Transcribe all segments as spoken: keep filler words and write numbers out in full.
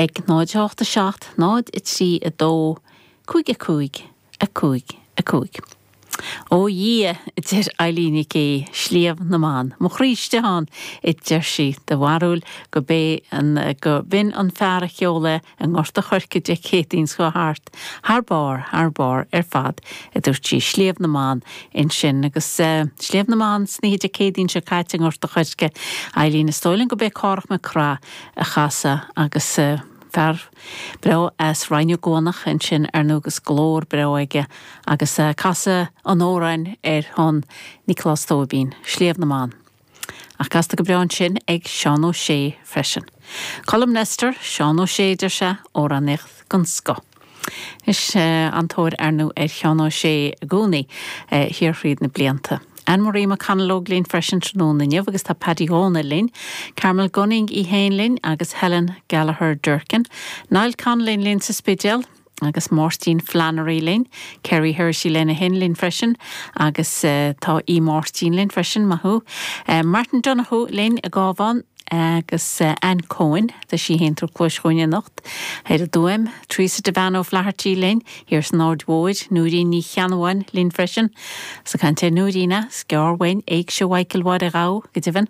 ag náid a hocht a seacht, náid a trí a dó, cúig a cúig, a cúig a cúig. Ó Dhia, a deir Eileen Nic Aoidh, Sliabh na mBan. Mo chroí istigh ann, a deir sí, de bharúil go b'é an, go b'in an fear a cheol é i nGort a' Choirce Dé Céadaoin seo thart, thar barr, thar barr ar fad, a dúirt sí. Sliabh na mBan ansin agus Sliabh na mBan san oíche Dé Céadaoin seo caite i nGort a' Choirce. Eileen, is dóigh liom go b'é Cárthach Mac Craith a chas é agus fear breá as Rinn Ó gCuanach ansin ar ndóigh agus glór breá aige agus casadh an amhráin ar shon Nioclás Tóibín, Sliabh na mBan. Ach casta go breá ansin ag Seán Ó Sé freisin. Colm Nestor, Seán Ó Sé, deir sé, amhránaíocht den scoth. Is an-tóir ar ndóigh ar Sheán Ó Sé i gcónaí thiar thríd na blianta. Anne Marie McConalogue linn freisin tráthnóna inniu agus tá Paddy Dhónaill linn, Carmel Gunning í féin linn agus Helen Gallagher Durkin, Niall Connolly linn sa Spidéal, agus Máirtín Flannery linn, Kerry Hersey lena hin linn freisin agus uh, tá í Máirtín linn freisin maith thú. Uh, Martin Donoghue linn i gCabhán agus uh, Ann Cohen tá sí héin tar clois chugainn anocht. Ar a dúim, Teresa Devane O'Flaherty linn, thiar san Aird Mhóir, Núirín Ní Cheannabháin linn freisin, sa caint ar Núirína, sceárhain, éigse Mhichael Mháire Ghabh go deimhin.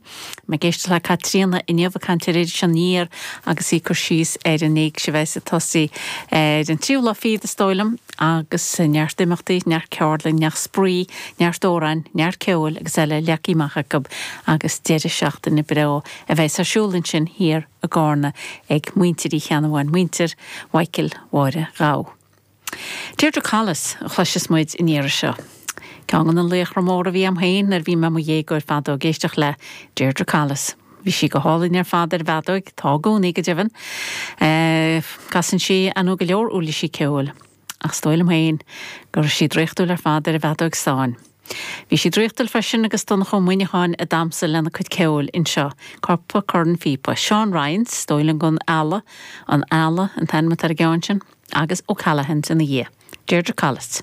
Me géiste le Caitríona inniu a caint ar Iris Aniar agus í cur síos ar an éigse bheith sa tosaí ar an tríú lá fichead is dóigh liom agus neart imeachtaí, neart ceardlann, neart spraoi, neart amhráin, neart ceoil agus eile leagtha amach acu agus deireadh seachtaine breá a bheith ar siúl ansin thiar i gCarna ag muintir Uí Cheannabháin, muintir Mhichael Mháire Ghabh. Deirdre Collis a chloisfeas muid an iarraidh seo. Ceann de na laochra móra a bhí agam féin nuair a bhí mé i mo dhéagóir fadó ag éisteacht le Deirdre Collis. Bhí sí go hálainn ar fad ar bhfeadóig, tá i gcónaí go deimhin. Casann sí an go leor uirlisí ceoil. Ach is dóigh liom féin go raibh sí draíochtúil ar fad ar an bhfeadóg stáin. Bhí sí draíochtúil freisin agus Donncha Ó Muineacháin ag damhsa lena cuid ceoil anseo, Cúpla Corn Phíopa, Seán Ryans, is dóigh liom gon Eala, an Eala an t-ainm atá ar an gceann sin, agus O'Callaghan's ina dhiaidh. Deirdre Collis.